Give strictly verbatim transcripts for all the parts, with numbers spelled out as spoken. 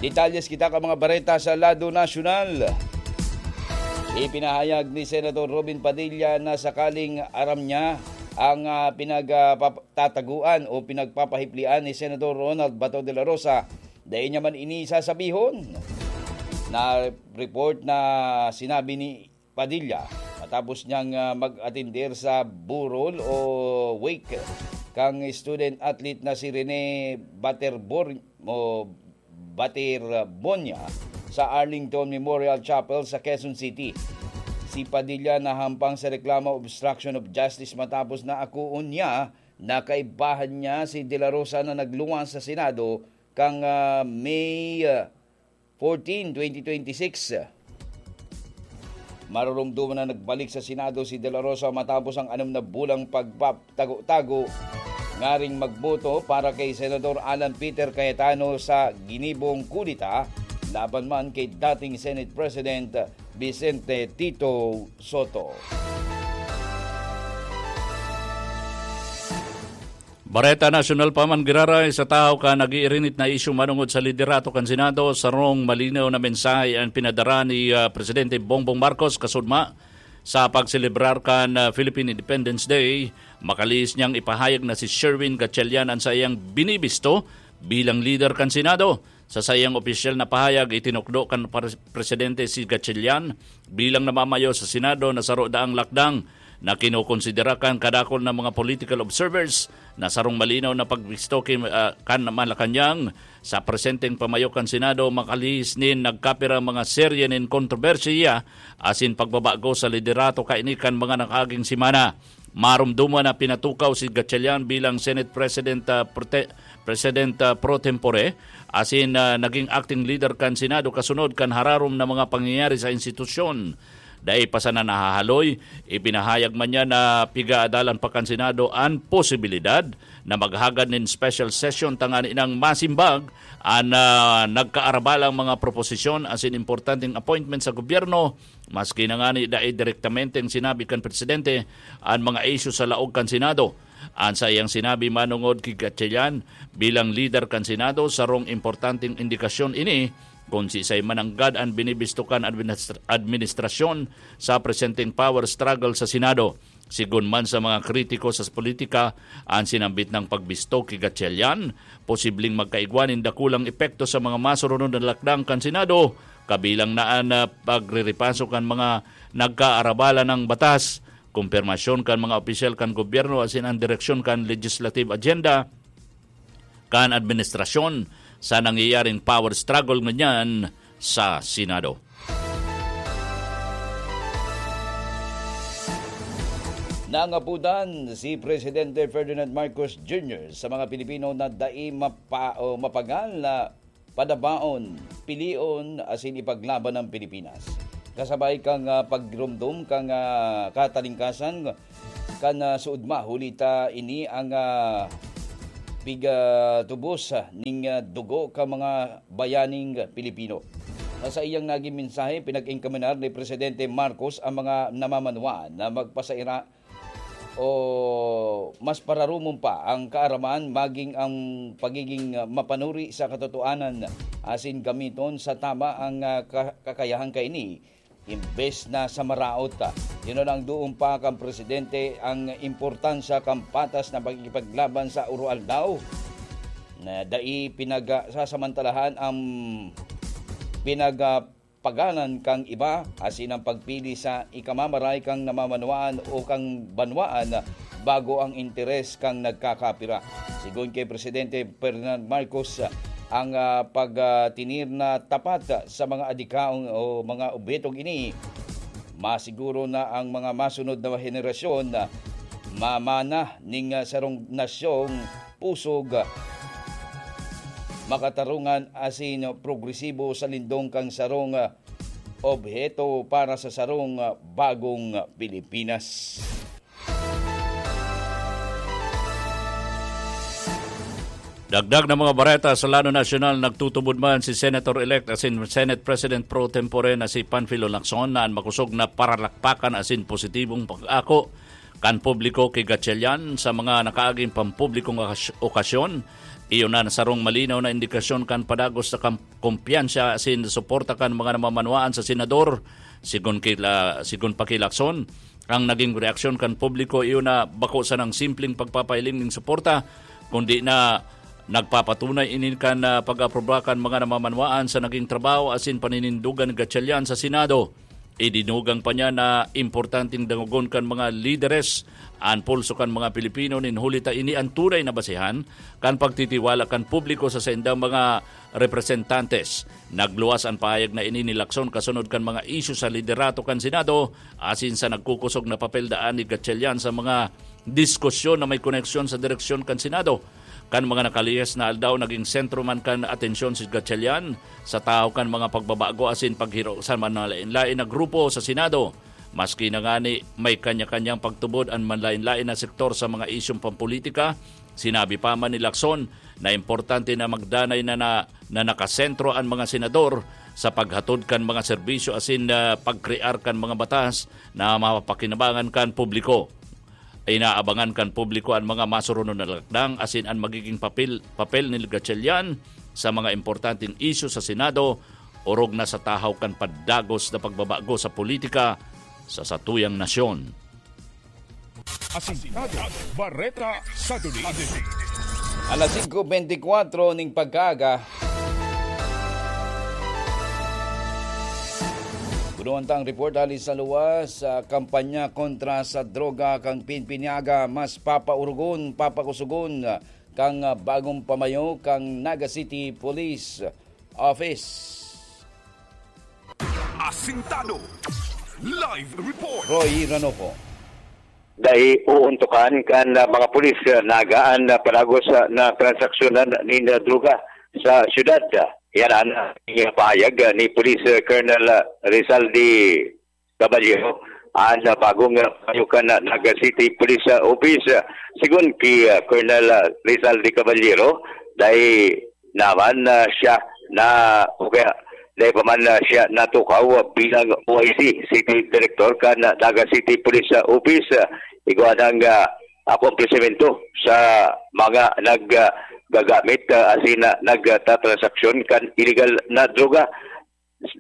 Detalyes kita ka mga bareta sa lado nasyonal. Ipinahayag ni Senator Robin Padilla na sakaling aram niya ang, ah, pinagpapataguan o pinagpapahiplian ni Senator Ronald Bato de la Rosa, dai niya man ini sasabihon. Na report na sinabi ni Padilla matapos niyang, ah, mag-atender sa burol o wake kang student athlete na si Rene Baterbor o Baterbonia sa Arlington Memorial Chapel sa Quezon City. Si Padilla nahampang sa reklamo obstruction of justice matapos na akuon niya na kaibahan niya si De La Rosa na nagluwas sa Senado kang, ah, May, ah, fourteen, twenty twenty-six. Marurumduman na nagbalik sa Senado si De La Rosa matapos ang anom na bulang pagpaptago-tago ngaring magboto para kay Senador Alan Peter Cayetano sa ginibong kudeta laban man kay dating Senate President Vicente Tito Soto. Bareta Nasyonal pa man giraray sa tahaw kan nag-iirinit na isyu manongod sa liderato kan Senado, sarong malinaw na mensahe an pinadara ni, ah, Presidente Bongbong Marcos kasudma sa pagselebrar kan, ah, Philippine Independence Day. Makalihis niyang ipahayag na si Sherwin Gatchalian an saiyang binibisto bilang lider kan Senado. Sa saiyang opisyal na pahayag, itinukdo kan pres-, presidente si Gatchalian bilang namamayo sa Senado na saro daang lakdang na kinokonsidera kan kadakul na mga political observers na sarong malinaw na pagbisto ki, ah, kan Malacañang sa presenteng pamayo kan Senado. Makalihis nin nagkapirang mga serye nin kontrobersiya asin pagbabago sa liderato kaini kan mga nakaaging semana. Marumduman na pinatukaw si Gatchalian bilang Senate President, ah, Prote-, President, ah, pro tempore, asin, ah, naging acting leader kan Senado kasunod kan hararom na mga pangyayari sa institusyon. Dai pa sana nahahaloy, ipinahayag man niya na pigaadalan pa kan Senado an posibilidad na maghagad nin special session tanganing masimbag an, ah, nagkaarabalang mga proposisyon asin importanteng appointment sa gobyerno. Maski na ngani dai direktamenteng sinabi kan presidente an mga isyu sa laog kan Senado, an saiyang sinabi manongod ki Gatchalian bilang lider kan Senado, sarong importanteng indikasyon ini kun siisay mananggad an binibisto kan administra-, administrasyon sa presenteng power struggle sa Senado. Sigon man sa mga kritiko sa politika, an sinambit nang pagbisto ki Gatchalian posibleng magkaigwa nin dakulang epekto sa mga masurunod na lakdang kan Senado, kabilang na an, ah, pagrerepaso kan mga nagkaarabalan na batas, kumpirmasyon kan mga opisyal kan gobyerno asin an direksyon kan legislative agenda kan administrasyon sa nangyayaring power struggle ngunyan sa Senado. Nangapudan si Presidente Ferdinand Marcos Junior sa mga Pilipino na dai mapa-, o mapagal na padabaon, pilion asin ipaglaban ang Pilipinas. Kasabay kan, ah, pagrumdom kan, ah, katalingkasan kan, ah, suodma, huli ta ini ang, ah, pigatubos, ah, ning, ah, dugo kan mga bayaning Pilipino. Sa saiyang naging mensahe, pinag-enkaminar ni Presidente Marcos ang mga namamanwaan na magpasaira o mas pararumon pa ang kaaraman, maging ang pagiging mapanuri sa katotohanan asin gamiton sa tama ang, ah, ka-, kakayahan kaini, imbes na sa maraot. Yun ang duon pa kan presidente ang importansya kan patas na pakikipaglaban sa oroaldaw na dai pinagsasamantalahan ang pinag-, pagalan kan iba, asin ang pagpili sa ikamamaray kan namamanwaan o kan banwaan bago ang interes kan nagkakapira. Sigon ki Presidente Ferdinand Marcos, ang, ah, pagtinir na tapat sa mga adikaon o mga obhetong ini, masiguro na ang mga masunod na henerasyon mamana ning, ah, sarong nasyong pusog, makatarungan asin progresibo sa lindong kan sarong obheto para sa sarong bagong Pilipinas. Dagdag na mga bareta sa lano nasyonal, nagtutubod man si Senator-elect asin Senate President pro tempore na si Panfilo Lacson na an makosog na paralakpakan asin positibong pag-ako kan publiko ki Gatchalian sa mga nakaaging pampublikong okas-, okasyon, Iyo na sarong malinaw na indikasyon kan padagos sa kam-, kumpiyansa asin suporta kan mga namamanwaan sa senador. Sigon kila, sigon pa ki Lacson, ang naging reaksyon kan publiko iyo na bako sanang simpleng pagpapahiling nin suporta, kundi na nagpapatunay ini kan, ah, pag-aproba kan mga namamanwaan sa naging trabaho asin paninindogan ni Gatchalian sa Senado. Idinugang pa niya na importanteng dangogon kan mga lideres an pulso kan mga Pilipino nin huli ta ini an tunay na basehan kan pagtitiwala kan publiko sa saindang mga representantes. Nagluwas an pahayag na ini ni Lacson kasunod kan mga isyu sa liderato kan Senado asin sa nagkukosog na papel daan ni Gatchalian sa mga diskusyon na may koneksyon sa direksyon kan Senado. Kan mga nakalihis na aldaw, naging sentro man kan atensyon si Gatchalian sa tahaw kan mga pagbabago asin paghiro sa manlain-lain na grupo sa Senado. Maski na ngani may kanya-kanyang pagtubod an manlain-lain na sektor sa mga isyung pampolitika, sinabi pa man ni Lacson na importante na magdanay na, na, na nakasentro an mga senador sa paghatod kan mga serbisyo asin, ah, pagkrear kan mga batas na mapapakinabangan kan publiko. Inaabangan kan publiko an mga masurunon na lakdang asin an magiging papel, papel ni Gatchalian sa mga importanteng isyu sa Senado, orog na sa tahaw kan padagos na pagbabago sa politika sa satuyang nasyon. Asintado, Bareta sa Duli. Alas singko bentikwatro ning pagkaaga. Gunuhan tang report hali sa luwas sa kampanya kontra sa droga kan Pinpiniaga, mas papaurugon, papakusugon kan bagong pamayo kan Naga City Police Office. Asintado. Live report. Roy Ranopo. Dai uuntukan kan, ah, mga pulis, ah, nagaan na palagos, ah, na transaksyonan nin, ah, droga sa syudad. Yan ang, ah, pahayag, ah, ni Police, ah, Colonel, ah, Rizaldi Caballero, ang, ah, bagong, ah, payukan na Naga City Police, ah, Office. Sigun ki, ah, Colonel, ah, Rizaldi Caballero, dai naman, ah, siya na, o kaya dai pa man, ah, siya natukaw bilang O I C, City Director kan, ah, Naga City Police, ah, Office. Ah, igwa ng, ah, akomplisimento sa mga nag, ah, gagamit, ah, asin, ah, nagtatransaksyon kan iligal na droga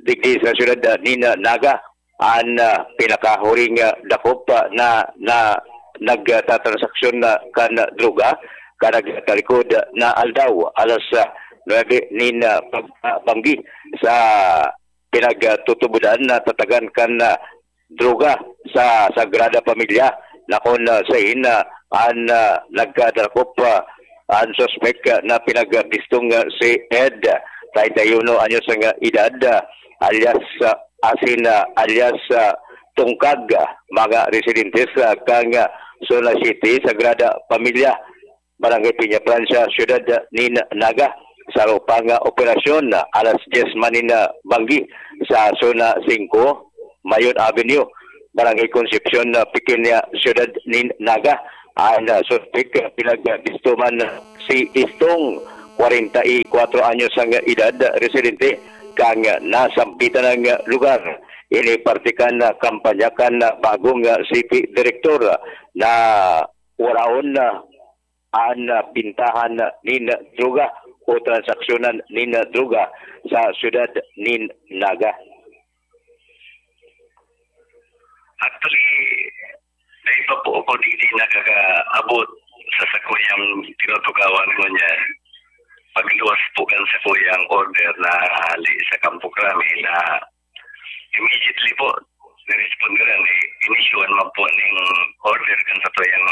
digdi sa syudad, ah, nin, ah, Naga. An, ah, pinakahuring, ah, dakop, ah, na, na nagtatransaksyon na kan droga kan nagtalikod na aldaw, alas, ah, nuebe nin, ah, pag-, ah, banggi sa pinagtutubodan na tatagan kan, ah, droga sa Sagrada Pamilya, na kun, ah, sain, ah, an, ah, nagkadakop, ah, an suspek, ah, na pinagbistong, ah, si Ed, treinta y uno anyos ang, ah, edad, ah, alias, ah, asin, ah, alias, ah, Tungkag, ah, mga residentes, ah, kan, ah, Zona City, Sagrada Pamilya, Barangay Peña Francia, Siyudad nin Naga. Sa arog pang, ah, operasyon, ah, alas dyes man nin, ah, banggi sa Zona singko, Mayon Avenue, Barangay Concepcion, ah, Pequeña, Siyudad nin Naga. An, ah, suspek, ah, pinagbisto man si Istong, kwarenta y kwatro anyos ang edad, residente kan nasampitan na lugar. Ini parte kan, ah, kampanya kan, ah, bagong, ah, C P Director, ah, na waraon, ah, an, ah, bintahan nin droga o transaksyonan nin droga sa siyudad nin Naga. Actually, dai pa po ako didi nakakaabot sa sakuyang tinutukawan ngunyan. Pagluwas po kan sakuyang order na hali sa Kampo Krame na immediately po, nirespondiran, eh, inisyuhan man po ning order kan satuyang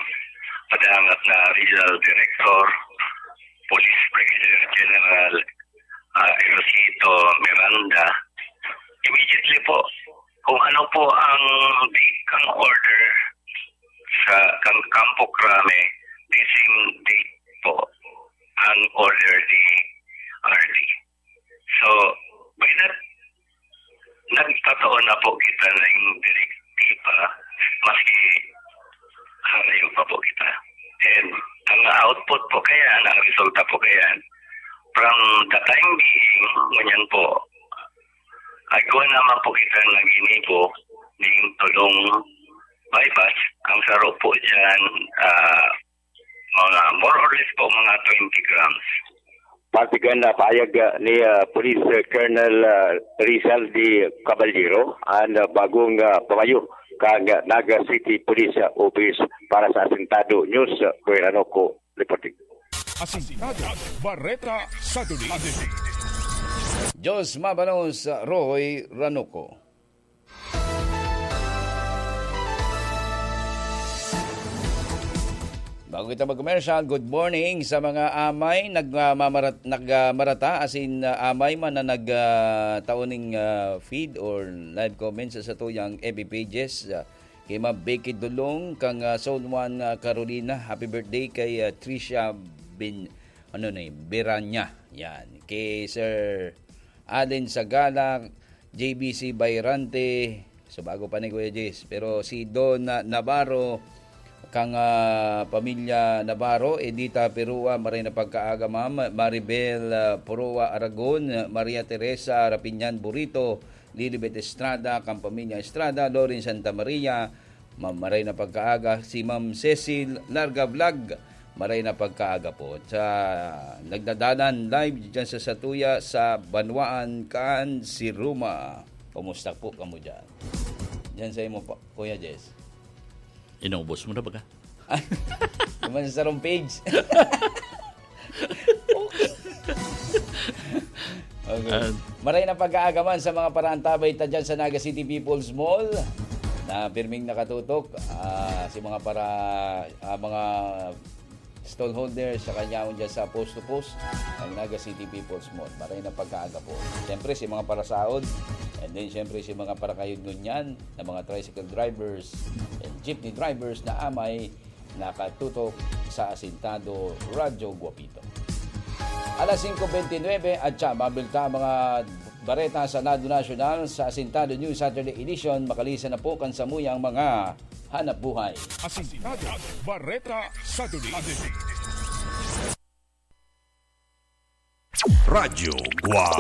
padangat na Regional Director, Police Brigadier General, ah, Erosito Miranda. Immediately po, kung ano po ang date kang order sa kang Kampo Krame, the same date po ang order ni R D. So, by that, nagtataon na po kita ning direktiba, maski harayo pa po kita. And ang output po kaya, ang resulta po kaya, from the time being, ngunyan po, igwa naman po kita naginibo ning tulong buy-bust. Ang saro po dyan, ah, mga more or less po mga twenty grams. Parte kan, ah, pahayag, ah, ni, ah, Police, ah, Colonel, ah, Rizal de Caballero, an, ah, bagong, ah, pamayo kan, ah, Naga City Police, ah, Office para sa Asintado News, ah, Roy Ranoco reporting. Asintado, Bareta sa Duli. Diyos mabanos, Roy Ranoco. Bago kita mag-commercial, good morning sa mga amay nagmamarat-, nagmarata, as in, ah, amay man na nag, ah, tao ning, ah, feed or live comments sa satuyang F B pages, ah, kay Ma'am Becky Dulong, kang, ah, Zone one, ah, Carolina, happy birthday kay, ah, Tricia Bin-, ano na yun, Biranya. Yan. Kay Sir Allen Sagala, J B C Bayrante, so bago pa ni Kuya Jess. Pero si Don, ah, Navarro, kang, ah, pamilya Navarro, Edita Perua, maray na pagkaaga, ma'am. Maribel, ah, Perua Aragon, Maria Teresa Rapiñan Burito, Lilibet Estrada, kang pamilya Estrada, Loren Santa Maria, Ma'am, maray na pagkaaga, si Ma'am Cecil Larga Vlog, maray na pagkaaga po. Sa nagdadalan live dyan sa satuya sa Banwaan kan Siruma. Kumusta po kamo dyan? Dyan sa imo pa, Kuya Jess. Inaubos mo na ba ka? Naman sa sarong page. Okay. And maray na pag-aagaman sa mga paraantabay ta dyan sa Naga City People's Mall na pirming nakatutok, ah, si mga para, ah, mga stallholders sa kanyaon dyan sa post to post ng Naga City People's Mall. Maray na pagkaaga po. Siyempre, si mga parasaod, and then siyempre si mga parakayod ngunyan na mga tricycle drivers and jeepney drivers na amay nakatutok sa Asintado Radyo Guapito. Alas singko bentynwebe at siya, mabilta ang mga bareta sa Lado Nasyonal sa Asintado News Saturday Edition. Makalisan na po kan samuyang mga hanap buhay. Asintado, Bareta sa Duli. Radyo Guapito.